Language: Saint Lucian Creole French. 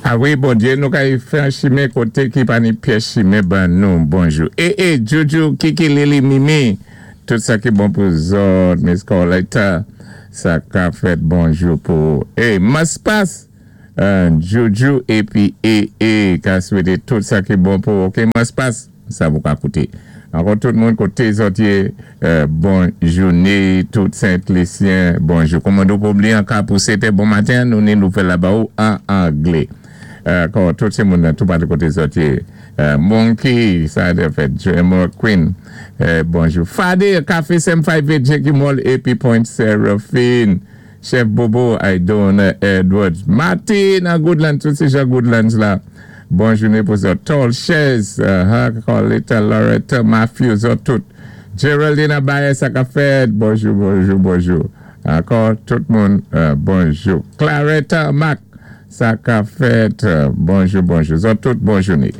A wi, Bondyé, nou kay fè an chimen koté ki pa ni pyès chimen ban nou. Bonjou. E e, Juju, Kiki, Lili, Mimi, tout sa ki bon pou zòt, Miss Carletta, sa ka fèt bonjou pou ou. E, Maspas, Juju épi E E ka swété tout sa ki bon pou ou. Ok, Maspas, sa pou ka kouté. Ankò tout moun koté zòt yé, bon jouné, tout Sent Lisyen, bonjou. Kòmando Pobli an ka pou 7 è bon maten, nou ni nouvèl la ba ou an anglé. Ankò tout sé moun nan toupatou koté zòt yé. Monkey, sa a fèt, Emerald Queen, bonjou. Fade, Café Sem 5 Jackie Mall épi Point Seraphine. Chef Bobo, Idona Edwards. Martin nan Goodlands, tout sé jan Goodlands la. Bon jouné pou zòt. Tall Chez, Carletta, Loretta, Matthew, zòt tout. Geraldine Abaye, sa ka fèt. Bonjou, bonjou, bonjou. Ankò, tout moun, bonjou. Claretta Mac, sa ka fèt. Bonjou, bonjou. Zòt tout, bon jouné.